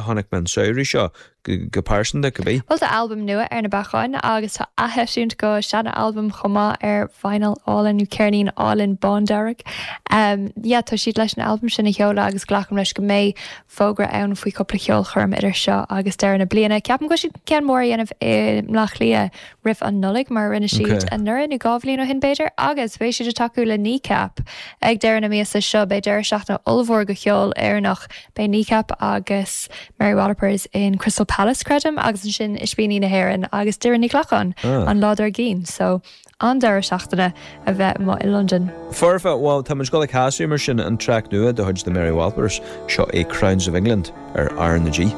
chonaic mé an samhradh seo, go pearsanta, cibé. Bhuel, tá albam nua ar na bacáin agus tá atheisiúint go seana-albam chomh maith ar vinyl álainn nó ceirnín álainn bándearg. Yeah, tá siad leis an albam sin a sheoladh agus glacaim leis go mbeidh fógra ann faoi chúpla ceolchoirm idir seo agus deireadh na bliana. Ceapaim go bhfuil siad ceann mór a dhéanamh i mBleá Cliath roimh an Nollaig mar a rinne siad anuraidh nó 2 bhliain ó shin b'fhéidir agus beidh siad ag tacú le Kneecap ag deireadh na míosa seo. Beidh deireadh seachtaine ollmhór go cheol Éireannach. Beidh Kneecap agus Mary Wallopers in Crystal Palace, creidim, agus ansin Ispíní na hÉireann agus Doireann Ní Ghlacáin an lá dár gcionn. So, an-deireadh seachtaine a bheith amuigh i Londain. Foirfe, bhuel, tá muid ag dul ag casadh mar sin an traic nua de chuid The Mary Wallopers, seo é Crowns of England ar R na G.